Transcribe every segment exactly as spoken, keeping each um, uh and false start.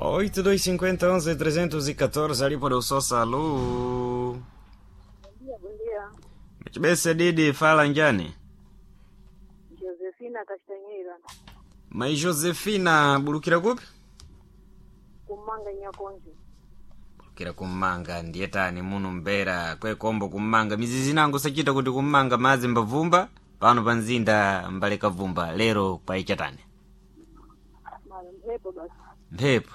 Oito, dois, cinquenta, onze, trezentos e catorze, ali para o Só Salu. Bom dia, bom dia. Mchibese Didi, fala njani? Josefina Castanheira, Mai Josefina, bulukira kupi? kumanga nyakonje. Bulukira kummanga, ndiye tani muno mbera, kwekombo kummanga. Mizizi nangu sachita kuti kummanga madzi mbavumba, pano pa mzinda mbaleka vumba, lero paichatani. Mara mphepo basi, Mphepo,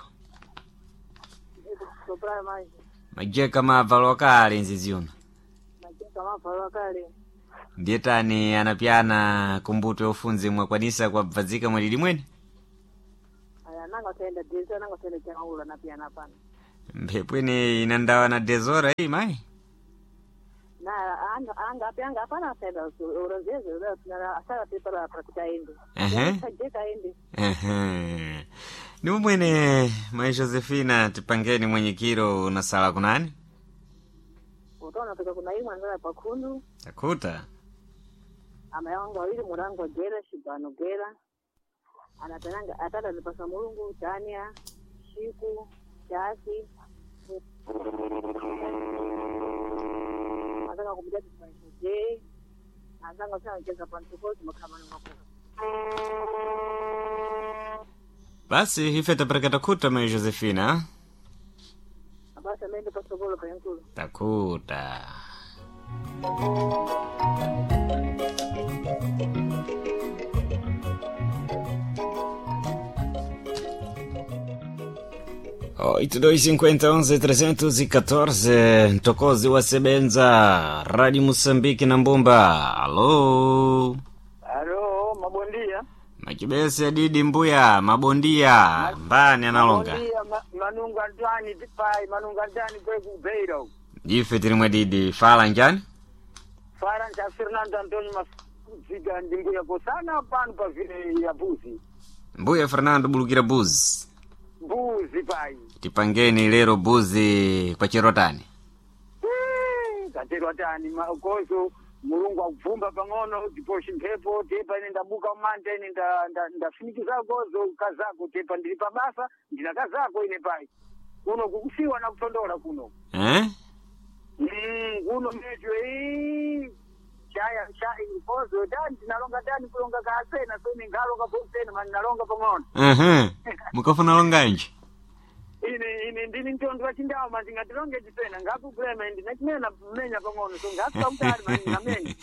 mphepo kusopra maji. majeka mavalo akale nzizi uno. Majeka mavalo akale. Ndiye tani anapyana kumbuto yofunzi mwakwanisa kwabvadzika mwalili mwene? Aya nanga saenda deza nanga saenda chaula na pia na pana. Mphepo ine inandawa na dezora iyi mayi. Na anga anga api anga hapana saenda uronzeze na asara pepa para kutaende. Ehe. Jeka ende. Ehe. Ni mwene mai Josefina tipangeni mwenyekiro unasala kunani? Utaona fika kuna imwe andala pakhundu, Takuta. ama yangu awili murango gera shibano gera. Anatananga atata nipasa mulungu Tania, Shiku, Chasi. Anataka kumjadi je. Anataka sana cheza pantuko makhamani makubwa. Basi ife tapereka takuta mai Josefina. Abasi ameenda pasokolo pa yankulu. Takuta. Oito, dois, cinquenta, onze, trezentos e catorze. Ntokozi wa Sebenza, Rádio Moçambique na Mbumba. Alô? Alo, mabondia. Machibese adidi mbuya, mabondia, mbani analonga. Mabondia, ma, manunga ndani tipai, manunga ndani kwe kubeira. Ife tiri mwadidi, fala njani? Fara ncha Fernando Antonio Mafuzika ndimbuya kosana pano pa vile ya buzi. Mbuya Fernando bulukira buzi. Buzi pai. Tipangeni lero buzi kwa chirotani. Eh, Katerwa tani makoso mulungu akubvumba pang'ono ndiposhi mphepo tepa ine ndabuka umante ine nda- nda- ndafinikiza kozo kazako tepa ndili pabasa ndina kazako ine pai kuno kukusiwa na kutondola kuno Eh? Mm, kuno mecho ee chaya chaya kozo dani tinalonga dani kulonga kaasena so ningalonga posena mani nalonga pang'ono Uhum. Mukafuna longanji. ine ine ndini mtondo wa chindawo manje ngatilonge chisena ngakukulema ndinachimena mmenya pang'ono so ngakutali mani ngamenya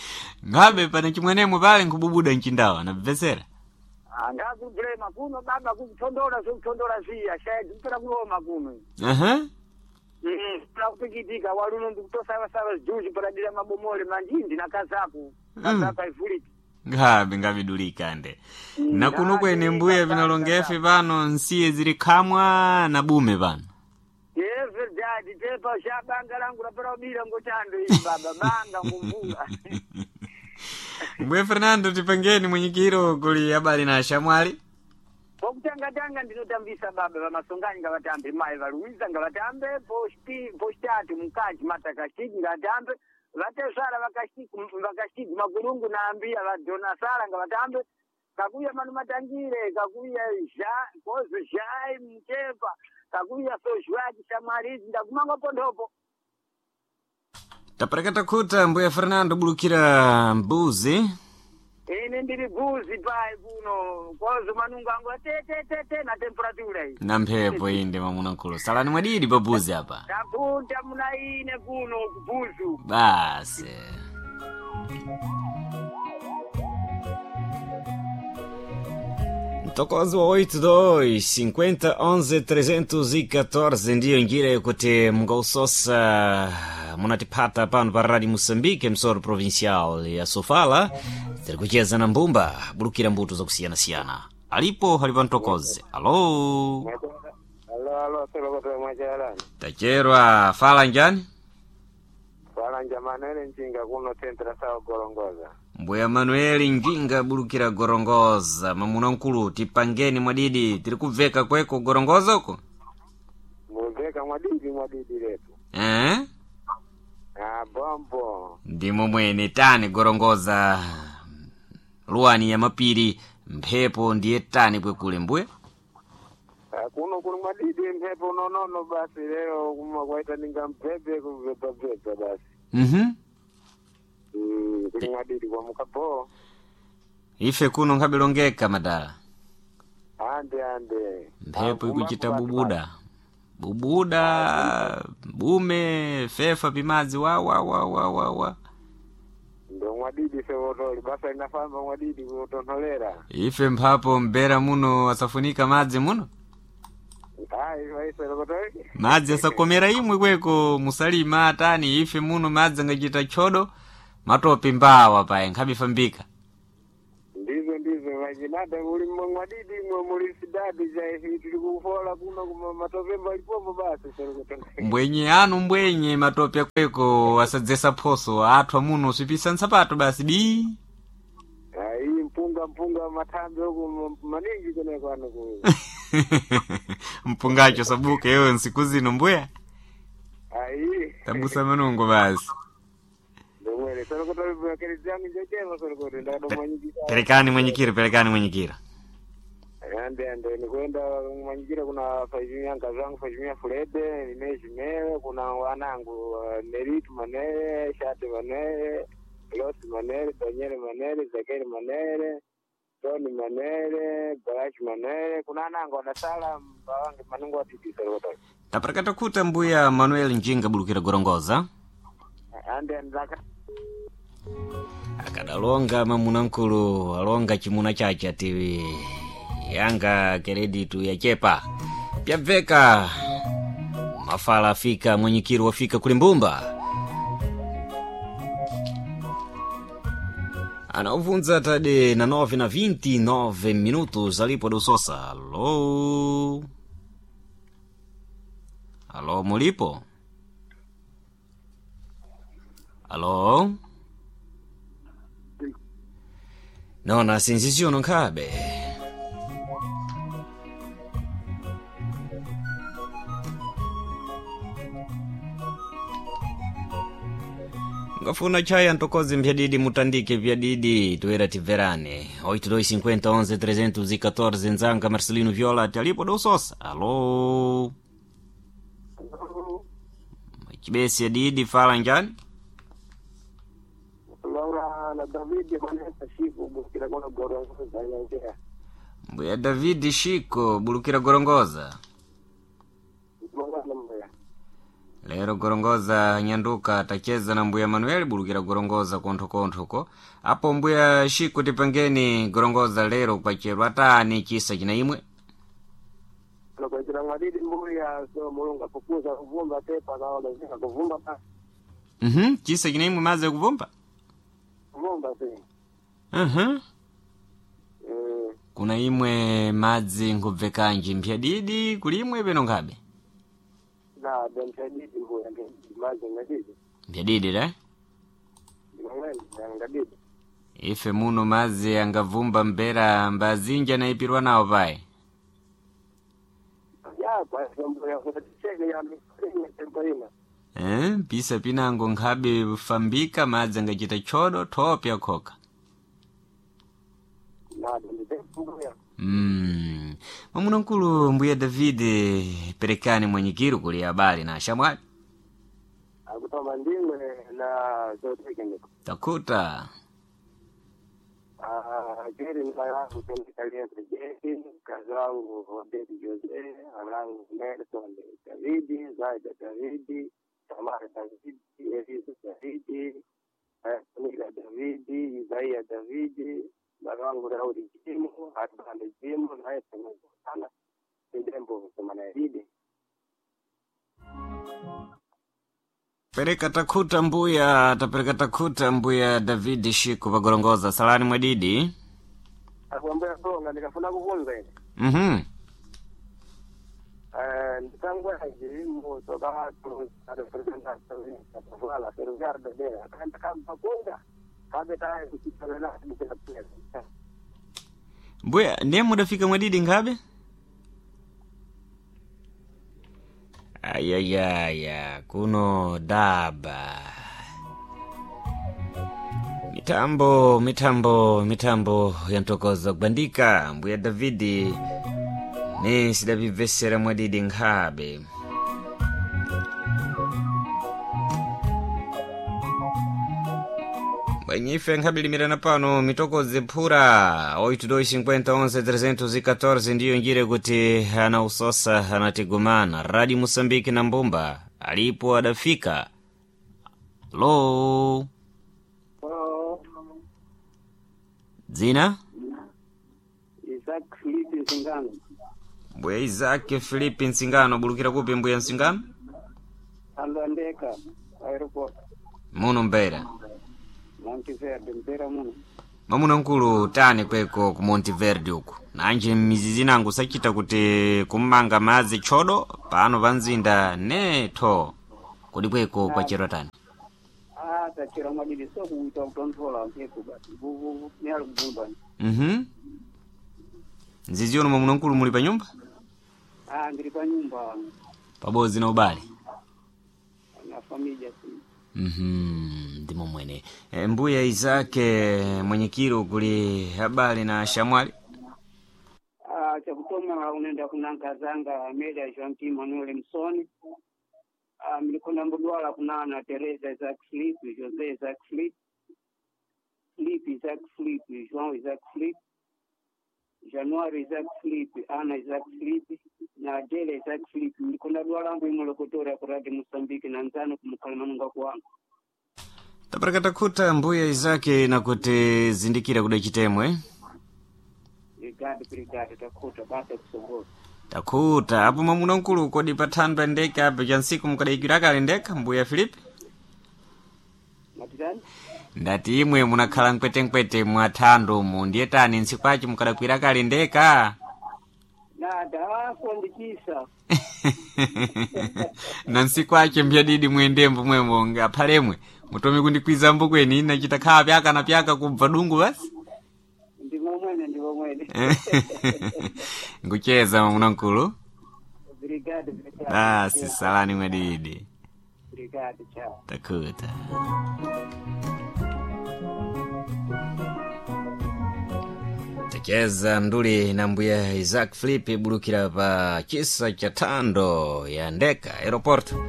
Ngabe pana chimwenemwe pale nkububuda mchindawa nabvesera. ngakukulema kuno baba kukutondola so kutondola ziya shaya zikupera kuloma kuno Uhum. Mm, pera kupikitika waluno ndikutosavasava zijuzi paradira mabomole manje ndinakazako kazako aivuliki Ngabe ngabidulika nde. Na kuno kwene mbuya vinalongefe pano nsiye zili khamwa na bume pano. É verdade, tepa já banga langu lapera ubira ngochando ili baba banga ngumvula. Mbuya Fernando tipangeni mwenyekiro kuli habari na shamwali. Pokutanga tanga ndinotambisa baba vamasonganyi ngavatambe mai valuiza ngavatambe posti postatu mkaji matakashiki ngatambe vatesara vakashiki vakashiki makulungu naambia vadhona sara ngavatambe kakuya manu matangire kakuya ja kozo jai mchepa kakuya sozhwaki shamwarizi ndakumanga pondopo Tapereka takuta mbuya Fernando bulukira mbuzi. ine ndiri buzi pai kuno kozo manungu angu atetetete na temperatura iyi Na mphepo inde mamunakulu. Salani mwadidi pa buzi apa. tapunta muna ine kuno kubuzu Basi. Mtokozi wa oito dois cinquenta onze trezentos e catorze ndiyo njira yokuti mungausosa munatipata pano pa Rádio Moçambique msoro provincial ya Sofala tiri kucheza na mbumba bulukira mbuto zakusiyana-siyana alipo hali pa mtokozi alo Alo, alo, solokoto mwachalani. tacherwa fala njani Falanja Manuel Njinga kuno tentra sawa Gorongoza. Mbuya Manueli Njinga bulukira Gorongoza mamuna nkulu tipangeni mwadidi tiri kubveka kweko Gorongoza uko Mubveka mwadidi mwadidi letu. eh? Ah, bombo. ndimo mwene tani Gorongoza luwani ya mapiri mphepo ndiye tani kwekule mbuya Ah, kuno kuli mwadidi mphepo nonono basi lero kuma kwaita ninga mphepe kubvebvabvebva basi. Mhm. Mm, kuli mwadidi kwa mukapo. Ife kuno nkhabilongeka madala. Ande ande. Mphepo Ah, ikuchita kumba- bubuda. Bubuda, bume, fefa pimadzi wa wa wa wa wa wa. Ndo mwadidi sewotoli basa inafamba mwadidi kutontholera. Ife mphapo mbera muno asafunika madzi muno. Ayi waiserokotori. Madzi asakomera imwe kweko musalima atani ife muno madzi angachita chodo matope mbawa paye nkhabifambika. Ndizvo ndizvo vachinada muli mwadidi mwe muli sidadi chaifi tiri kufola kuno kuma matope malipopo basi serokotori. Mbwenye anu mbwenye matope kweko asadzesa phoso athwa muno usipisa nsapato basi bi. Ayi mpunga mpunga mathambi huku maningi kuneko ano ku. Mpungacho sabuka iwe nsiku zino mbuya. Ayi. Tabusa manungo basi. Ndomwere serokotori bwakeri yangu njochema serokotori ndakadomanyikisa. Perekani mwenyikira, perekani mwenyikira. Ande ande nikwenda manyikira kuna fajimia nkazangu fajimia Fulede nimezhimewe kuna wanangu uh, Neritu Manere Shate Manere Losi Manere Daniel Manere Zakeri Manere Tony Manere Barashi Manere kuna anangu wanasala mbawange manungu watitiserokotori Taparekata kuta mbuya Manuel Njinga bulukira gorongoza. ande ande zaka Akadalonga mamunankulu alonga chimuna chache ati yanga kereditu yachepa. Pyabveka mafala afika mwenyikiro wafika kulimbumba. Anauvunza tade na nove na vinte e nove minutos alipo do Sosa. Alô? Alô, mulipo? Alô? Nona sinziziono nkhabe. Ngafuna chaya ntokozi mpyadidi mutandike pyadidi toera tibverane oito dois cinquenta onze trezentos e catorze nzanga Marcelino Viola ati alipo do Sosa. Alô? Chibesi adidi fala njani? Laura na David Manesa Shiku bukira kuna gorongoza yanjea Mbuya David Shiko bulukira gorongoza. mwana mbuya Lero gorongoza nyanduka tacheza na mbuya Manuel bulukira gorongoza konthokonthoko. Apo mbuya Shiko tipangeni gorongoza lero kwacherwa tani chisa china imwe. lokochera mwadidi mbuya so mulungu apukuza kuvumba tepa kaolezeka kuvumba pa Mhm, chisa china imwe maze kuvumba. kuvumba si Mhm. mm. Kuna imwe madzi nkubvekanji mpyadidi kulimwe peno nkhabe. Na demshadidi mbuya ngedidi mazi ngadidi Mpyadidi le? ndimamweni ngadidi Ife muno madzi angavumba mbera mbazinja naipirwa nawo paye. ya kwa mbuya kutacheke ya misingi tempo ina Eh, pisa pinango nkhabe fambika madzi angachita chodo thope akhoka. na demshadidi mbuya Mm. Mwamuna mkulu mbuya David perekani mwenyikiro kuli habari na shamwali. akutoma ndimwe na zotekeniko Takuta. jeri mwanangu tendikaliense jeri mkazi wangu Odedi Jose anangu Nelson Davidi Zaida Davidi Tamara Davidi Elisa Davidi Mila Davidi Isaia Davidi baba wangu Daudi Jimu Atbande Jimu naye sana ndembo semana Idi Pereka takuta mbuya, tapereka takuta mbuya David Shiku pagorongoza salani mwadidi. akwambia songa nikafuna kuvunza ile Mhm. nditangwaji muso kaaturepresentavala ferroviário dela akanda kamba kabe taye kuchitolela bukela Mbuya, ndiye mudafika mwadidi nkhabe? Ayayaya, kuno daba. Mitambo, mitambo, mitambo yantokoza kubandika. Mbuya Davidi Ne sidapibvesera mwadidi nkhabe. Bwenyife nkhabilimirana pano mitokodzi phura oito dois cinquenta onze trezentos e catorze ndiyo njira kuti ana usosa anatigumana. Rádio Moçambique na Mbumba alipo adafika. Lo dzina Isaac Filipe Nsingano. Mbuya Isaac Filipe Nsingano, bulukira kupi mbuya Nsingano? Andandeka aeroport. Muno Mbeira. Monte Verde, Mbeira muno. Mwamuna mkulu tani kweko ku Monte Verde uku nanji mizizi nangu sachita kuti kummanga madzi chodo pano pa mzinda netho kodi kweko kwachero tani? Ah, tachera mwadidi so kuita kutonthola mphepo basi. Vuvu ni ali kubumba. Mhm. Nzizi uno mwamuna mkulu muli pa nyumba Ah, ndiri pa nyumba pabodzi na ubale? na familia si. Mhm, ndimo mwene. E, mbuya Isake mwenyekiro kuli habari na shamwali. Ah, chakutoma unaenda kunankazanga Amelia Joaquim Manuel Msoni. Ah, mlikona mbudwala kunana Teresa Isaac Filipe, Jose Isaac Filipe, Filipe Isaac Filipe, João Isaac Filipe, January Isaac Filipe, Ana Isaac Filipe na Adela Isaac Filipe. Mlikona dwala angu imolokotora ku Radio Mosambiki na nzano kumukalimanunga kwangu. Taparakata khuta mbuya Isake na kuti zindikira kuda chitemwe. Brigade, brigade, takhuta basa kusongoza. Takhuta apo mwamuna mkulu kodi pathandwa ndeka apo cha ntsiku mukadayikira kale ndeka mbuya Filipe? Matitani? Ndati imwe munakhala mkwetenkwete mwathando umu ndiye tani ntsiku achi mukadakwira kale ndeka? Nada, apo ndichisa. Na ntsiku ache mbyadidi mwendembo mwemo ngaphalemwe mutome kundikwiza mbukweni nachita khala pyaka na pyaka kubva dungu basi. Ndimo mwene, ndimo mwene. Nkucheza mwamuna mkulu. Brigade, brigade. Basi salani mwadidi. Brigade, chao. Takhuta. Tacheza nduli na mbuya Isaac Filipe bulukira pa chisa cha thando ya ndeka aeroporto.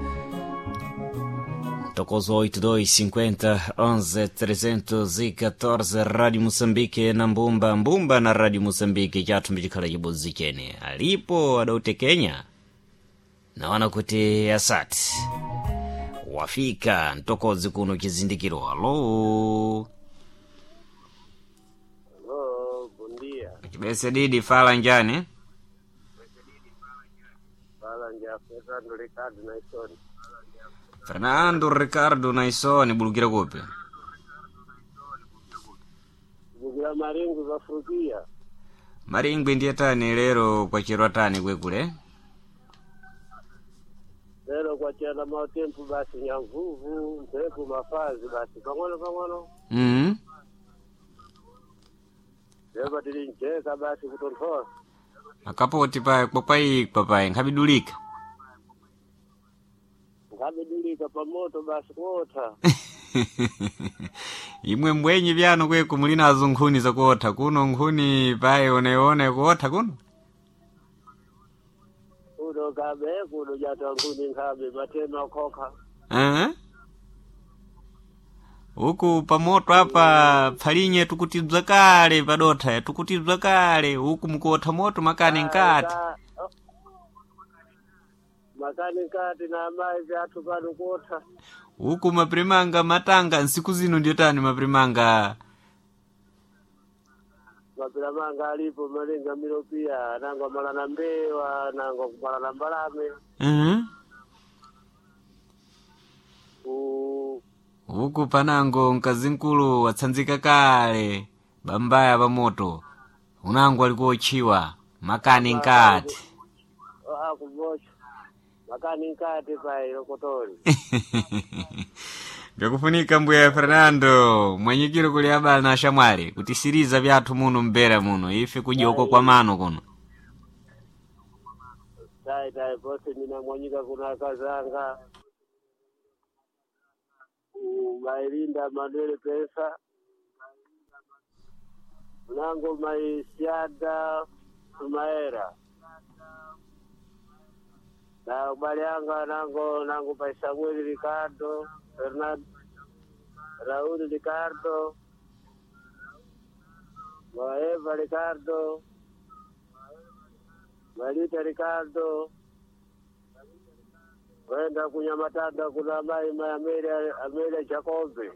Tokozo oito dois cinquenta onze trezentos e catorze Rádio Moçambique na Mbumba, Mbumba na Rádio Moçambique chathu mbicikhala chibodzi chene. Alipo adautekenya naona kuti asati wafika mtokozi kuno chizindikiro. Alo Hello, bom dia. chibese didi fala njani? Fala nja Fernando Ricardo Naison. Fernando Ricardo Naisoni bulukira kupi? Bukira maringu zafurukia. Maringwi ndiye tani lero kwachirwa tani kwekule? Lero kwachera mautempu basi nyamvuvu, mphepo mafazi basi pang'ono pang'ono. mm Lero tili njeka basi kutonthola. Makapoti paye kwakwayikwa paye nkhabidulika. Nkhabidulika pamoto basi kuotha. Imwe mbwenyi vyano kweku muli nazo nkhuni zakuotha kuno nkhuni paye oneone kuotha kuno. Kuno kabe kuno jata nkhuni nkhabe matema khokha. Eh? Uku pamoto apa pfalinye tukutibza kale padotha tukutibza kale uku mukuotha moto makani nkati. Makani nkati na amayi vyathu pano kuotha. Uku maprimanga matanga nsiku zino ndiyo tani maprimanga. Mapira manga alipo malinga milopia nangwa malana mbewa nangwa kumalana mbalame. Mhm. Ku Uku panango mkazi mkulu watsanzika kale bambaya pamoto unango alikuotchiwa makani nkati. akuvocha makani nkati payi lokotori. Byakufunika mbuya Fernando mwenyikiro kuli abala na shamwali kutisiriza vyathu muno mbera muno ife kujoko kwa mano kuno. Tai tai pose ninamwanyika kuna kazanga mailinda Manuel Pesa mnango maisiada Sumaera Na ubale yanga nango nango pai Samuel Ricardo, Fernando Raúl Ricardo, Eva Ricardo, Marita Ricardo, kwenda kunyamatanda kuna mai mai Amelia Amelia Jacobe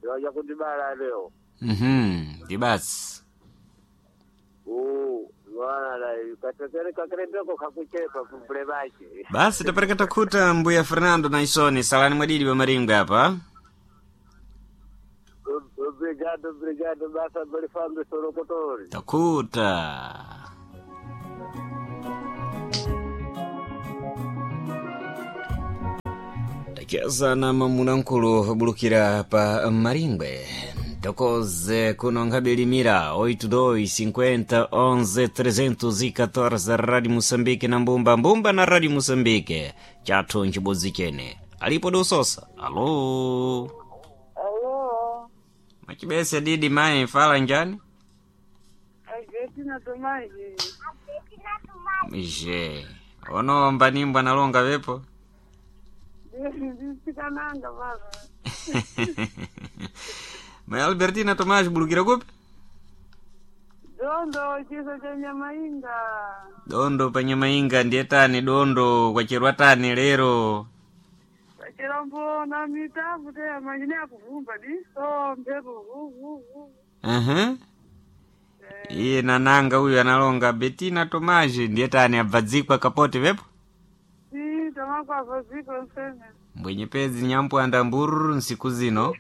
waja kundibala leo Mhm, ndibasi uu mwana katekere kakerendeko kakuchepa kumbule bache Basi tapereka takhuta mbuya Fernando na Isoni salani mwadidi wa maringwe apa. Obrigado, obrigado, basa balifambe sorokotori. Takhuta. Tacheza na mamunankulu obulukira pa maringwe tokoze kuno nkabilimira oito dois cinquenta onze trezentos e catorze Rádio Moçambique na mbumba mbumba na Rádio Moçambique chathu nchibodzi chene alipo dososa alo. Alô, Machibese didi mai fala njani Albertina Tomás. Je onomba nimbwa nalonga vepo. Ndisikananga baba. Mai Albertina Tomás bulukira kupi? Dondo chiso cha nyamainga. Dondo pa nyamainga ndiye tani dondo kwacherwa tani lero. Chirambo na mitabu te manyine akuvumba diso mphepo vu vu vu. Uhum. Iye nananga uyu analonga Betina Tomás ndiye tani abvadzikwa kapote vepo. Si tamakwava ziko nsene. Mbwenyepedzi nyampwanda mbururu nsiku zino.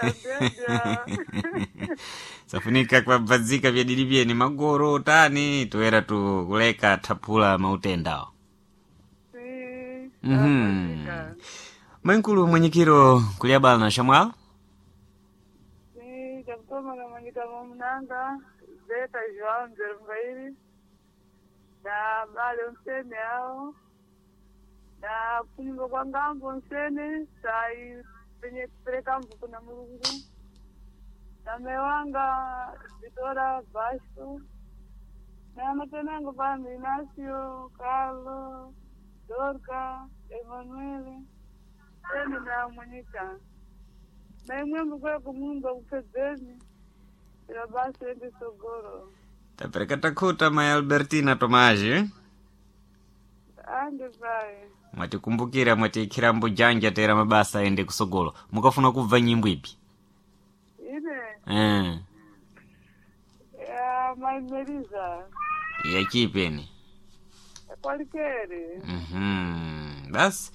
Adeja. Safunika kwabvadzika vyadidi vyeni magoro tani toera tu kuleka thapula mautendawo. Si. Mhm. Mwenkulu mwenyekiro kulyabala na shamwala. Si chakutoma na manyika mamunanga Zeta João Nzerungairi na bale nsene hao na kunyumba kwa ngambo nsene sai penye kupereka mbu kuna Mulungu na mewanga Vitora Vasco na matenango pano Inácio Carlo Dorca Emanuele ene na Monica na imwe mbukwera kumunda kupedzeni ila basi ende sogoro. Tapereka takhuta mai Albertina Tomás. Ande pai. Mwatikumbukira mwatiikhira mbujanja tera mabasa ende kusogolo mukafuna kubva nyimbo ipi? Ine. Eh, Ya maimeriza. Yachipeni. Kwalikere. Mhm. Basi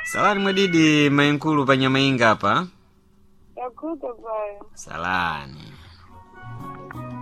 salani mwadidi mainkulu pa nyamainga apa. Yakuta pai. Salani.